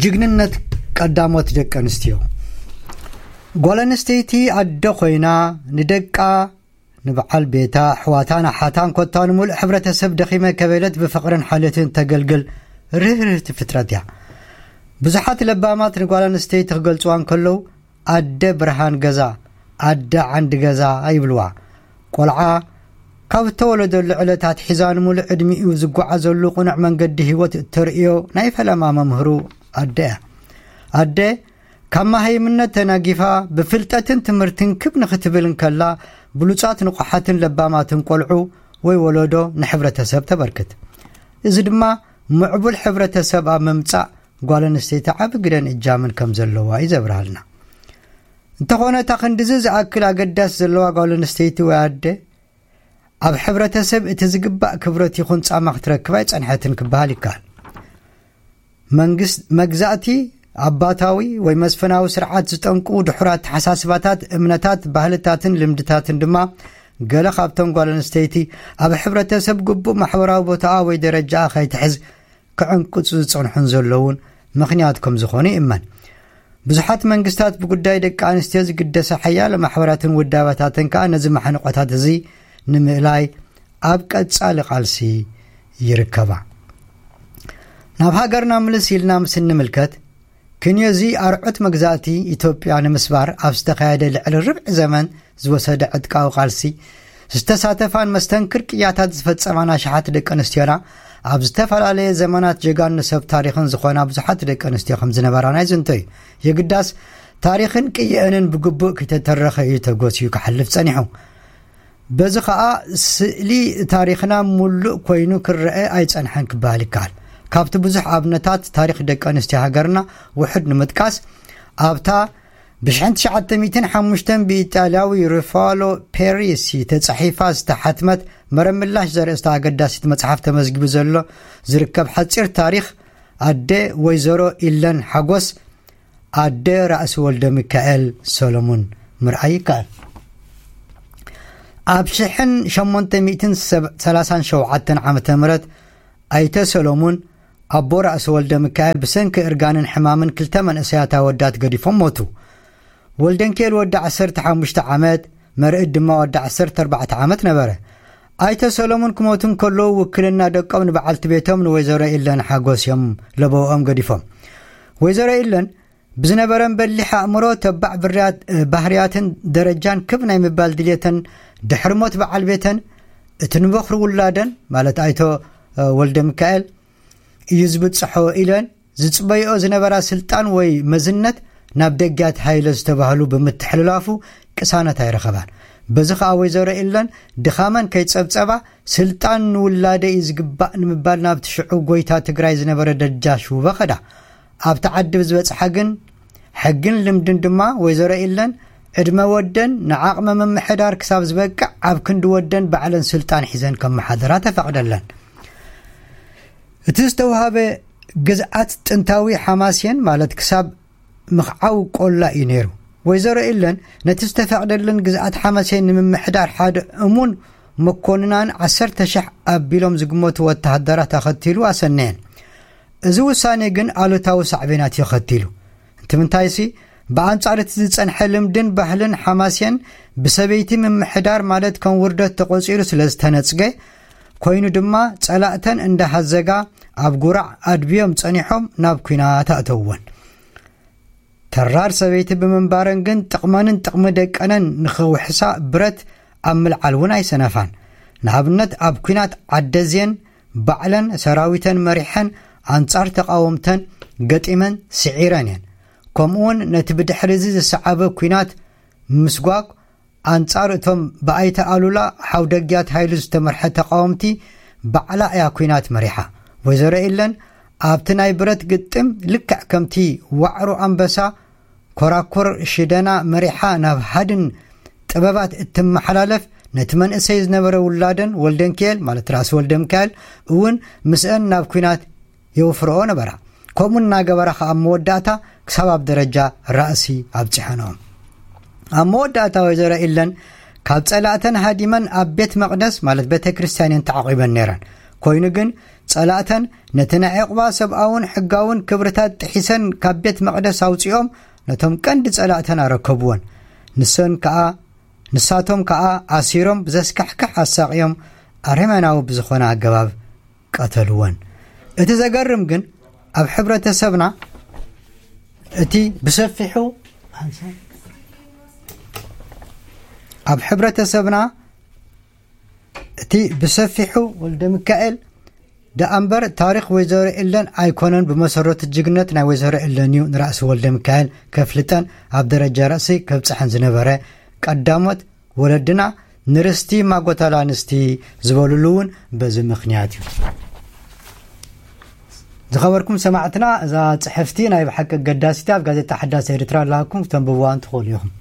ጅግንነት ቀዳሞት ደቂ ኣንስትዮ። ጓል ኣንስተይቲ ኣደ ኮይና ንደቃ፣ ንበዓል ቤታ፣ ኣሕዋታን ኣሓታን ኮታ ንምሉእ ሕብረተሰብ ደኺመ ከበለት ብፍቕርን ሓልዮትን ተገልግል ርህርህቲ ፍጥረት እያ። ብዙሓት ለባማት ንጓል ኣንስተይቲ ክገልጽዋ እንከለዉ ኣደ ብርሃን ገዛ፣ ኣደ ዓንዲ ገዛ ይብልዋ። ቆልዓ ካብ እተወለደሉ ዕለት ኣትሒዛ ንምሉእ ዕድሚኡ ዝጓዓዘሉ ቅኑዕ መንገዲ ህይወት እተርእዮ ናይ ፈለማ መምህሩ ኣደ እያ። ኣደ ካብ መሃይምነት ተናጊፋ ብፍልጠትን ትምህርትን ክብ ንኽትብል እንከላ ብሉጻት ንቑሓትን ለባማትን ቆልዑ ወይ ወለዶ ንሕብረተሰብ ተበርክት። እዚ ድማ ምዕቡል ሕብረተሰብ ኣብ ምምጻእ ጓል ኣንስተይቲ ዓቢ ግደን እጃምን ከም ዘለዋ እዩ ዘብርሃልና። እንተኾነ እታ ክንድዚ ዝኣክል ኣገዳሲ ዘለዋ ጓል ኣንስተይቲ ወይ ኣደ ኣብ ሕብረተሰብ እቲ ዝግባእ ክብረት ይኹን ጻማ ክትረክብ ኣይጸንሐትን ክበሃል ይከኣል። መንግስት መግዛእቲ ኣባታዊ ወይ መስፍናዊ ስርዓት ዝጠንቁ ድሑራት ተሓሳስባታት፣ እምነታት፣ ባህልታትን ልምድታትን ድማ ገለ ካብቶም ጓል ኣንስተይቲ ኣብ ሕብረተሰብ ግቡእ ማሕበራዊ ቦታኣ ወይ ደረጃኣ ከይትሕዝ ክዕንቅጹ ዝጸንሑን ዘለውን ምኽንያት ከም ዝኾኑ ይእመን። ብዙሓት መንግስታት ብጉዳይ ደቂ ኣንስትዮ ዝግደሰ ሓያለ ማሕበራትን ውዳበታትን ከኣ ነዚ ማሕንቆታት እዚ ንምእላይ ኣብ ቀጻሊ ቃልሲ ይርከባ። ናብ ሃገርና ምልስ ኢልና ምስ እንምልከት፣ ክንዮዚ ኣርዑት መግዛእቲ ኢትዮጵያ ንምስባር ኣብ ዝተኻየደ ልዕሊ ርብዒ ዘመን ዝወሰደ ዕጥቃዊ ቃልሲ ዝተሳተፋን መስተንክር ቅያታት ዝፈጸማን ኣሽሓት ደቂ ኣንስትዮና ኣብ ዝተፈላለየ ዘመናት ጀጋኑ ሰብ ታሪኽን ዝኾና ብዙሓት ደቂ ኣንስትዮ ከም ዝነበራና ይዝንቶ እዩ። የግዳስ ታሪኽን ቅየአንን ብግቡእ ከይተተረኸ እዩ ተጎስዩ ክሓልፍ ጸኒሑ። በዚ ኸኣ ስእሊ ታሪኽና ሙሉእ ኮይኑ ክረአ ኣይጸንሐን ክበሃል ይከኣል። ካብቲ ብዙሕ ኣብነታት ታሪኽ ደቂ ኣንስትዮ ሃገርና ውሑድ ንምጥቃስ፣ ኣብታ ብሽሕን ትሽዓተ ሚእትን ሓሙሽተን ብኢጣልያዊ ሩፋሎ ፔሪሲ ተጻሒፋ ዝተሓትመት መረብ ምላሽ ዘርእስታ ኣገዳሲት መጽሓፍ ተመዝጊቡ ዘሎ ዝርከብ ሓጺር ታሪኽ ኣደ ወይዘሮ ኢለን ሓጎስ ኣደ ራእሲ ወልደ ሚካኤል ሰሎሙን ምርኣይ ይከኣል። ኣብ ሽሕን ሸሞንተ ሚእትን ሰላሳን ሸውዓተን ዓመተ ምህረት ኣይተ ሰሎሙን ኣቦ ራእሲ ወልደ ሚካኤል ብሰንኪ እርጋንን ሕማምን ክልተ መንእሰያት ኣወዳት ገዲፎም ሞቱ። ወልደንኪኤል ወዲ ዓሰርተ ሓሙሽተ ዓመት፣ መርዕድ ድማ ወዲ ዓሰርተ ኣርባዕተ ዓመት ነበረ። ኣይተ ሰሎሙን ክሞቱ እንከለዉ ውክልና ደቆም ንበዓልቲ ቤቶም ንወይዘሮ ኢለን ሓጎስ እዮም ለበውኦም ገዲፎም። ወይዘሮ ኢለን ብዝነበረን በሊሕ ኣእምሮ፣ ተባዕ ብርያት-፣ ባህርያትን ደረጃን ክብ ናይ ምባል ድልየተን ድሕሪ ሞት በዓል ቤተን እቲ ንበኽሪ ውላደን ማለት ኣይቶ ወልደ ሚካኤል እዩ ዝብጽሖ ኢለን ዝጽበይኦ ዝነበራ ስልጣን ወይ መዝነት ናብ ደጊያት ሃይለ ዝተባህሉ ብምትሕልላፉ ቅሳነት ኣይረኸባን። በዚ ኸኣ ወይዘሮ ኢለን ድኻመን ከይጸብጸባ ስልጣን ንውላደ እዩ ዝግባእ ንምባል ናብቲ ሽዑ ጎይታ ትግራይ ዝነበረ ደጃሽ ውበ ኸዳ። ኣብቲ ዓዲ ብዝበጽሓ ግን ሕግን ልምድን ድማ ወይዘሮ ኢለን ዕድመ ወደን ንዓቕመ ምምሕዳር ክሳብ ዝበቅዕ ኣብ ክንዲ ወደን ባዕለን ስልጣን ሒዘን ከመሓደራ ተፈቕደለን። እቲ ዝተውሃበ ግዝኣት ጥንታዊ ሓማሴን ማለት ክሳብ ምኽዓው ቆላ እዩ ነይሩ። ወይዘሮ ኢለን ነቲ ዝተፈቕደለን ግዝኣት ሓማሴን ንምምሕዳር ሓደ እሙን መኮንናን ዓሰርተ ሸሕ ኣቢሎም ዝግመቱ ወተሃደራት ኣኸቲሉ ኣሰነየን። እዚ ውሳኔ ግን ኣሉታዊ ሳዕቤናት እዩ ኣኸቲሉ። እንትምንታይሲ ብኣንጻር እቲ ዝጸንሐ ልምድን ባህልን ሓማሴን ብሰበይቲ ምምሕዳር ማለት ከም ውርደት ተቖጺሩ ስለ ዝተነጽገ ኮይኑ ድማ ጸላእተን እንዳሃዘጋ ኣብ ጉራዕ ኣድብዮም ጸኒሖም ናብ ኲናት ኣእተውወን። ተራር ሰበይቲ ብምንባረን ግን ጥቕመንን ጥቕሚ ደቀነን ንኽውሕሳ ብረት ኣብ ምልዓል እውን ኣይሰነፋን። ንኣብነት ኣብ ኲናት ዓደዝየን ባዕለን ሰራዊተን መሪሐን ኣንጻር ተቓወምተን ገጢመን ስዒረን እየን። ከምኡውን ነቲ ብድሕሪ እዚ ዝሰዓበ ኲናት ምስጓግ ኣንጻር እቶም ብኣይተ ኣሉላ ሓውደጊያት ሃይሉ ዝተመርሐ ተቓወምቲ ባዕላ እያ ኲናት መሪሓ። ወይዘሮ ኢለን ኣብቲ ናይ ብረት ግጥም ልክዕ ከምቲ ዋዕሮ ኣንበሳ ኮራኩር ሽደና መሪሓ ናብ ሃድን ጥበባት እትመሓላለፍ ነቲ መንእሰይ ዝነበረ ውላደን ወልደንኪኤል ማለት ራእሲ ወልደ ሚካኤል እውን ምስአን ናብ ኲናት የውፍርኦ ነበራ። ከምኡ እናገበራ ከኣ ኣብ መወዳእታ ክሳብ ኣብ ደረጃ ራእሲ ኣብጺሐንኦም። ኣብ መወዳእታ ወይዘሮ ኢለን ካብ ጸላእተን ሃዲመን ኣብ ቤት መቕደስ ማለት ቤተ ክርስቲያን እየን ተዓቒበን ነይረን። ኮይኑ ግን ጸላእተን ነቲ ናይ ዕቑባ ሰብኣውን ሕጋውን ክብርታት ጥሒሰን ካብ ቤት መቕደስ ኣውጺኦም ነቶም ቀንዲ ጸላእተን ኣረከብወን። ንሰን ከኣ ንሳቶም ከኣ ኣሲሮም ብዘስካሕክሕ ኣሳቕዮም ኣረመናዊ ብዝኾነ ኣገባብ ቀተልወን። እቲ ዘገርም ግን ኣብ ሕብረተሰብና እቲ ብሰፊሑ ኣብ ሕብረተሰብና እቲ ብሰፊሑ ወልደ ሚካኤል ደኣ እምበር ታሪኽ ወይዘሮ ኤለን ኣይኮነን ብመሰረቱ ጅግነት ናይ ወይዘሮ ኤለን እዩ ንራእሲ ወልደ ሚካኤል ከፍልጠን ኣብ ደረጃ ርእሲ ከብጽሐን ዝነበረ ቀዳሞት ወለድና ንርስቲ ማጎታል ኣንስቲ ዝበሉሉ እውን በዚ ምኽንያት እዩ። ዝኸበርኩም ሰማዕትና እዛ ጽሕፍቲ ናይ ብሓቂ ኣገዳሲቲ ኣብ ጋዜጣ ሓዳስ ኤርትራ ኣለሃኩም ክተንብብዋ እንትኽእሉ ኢኹም።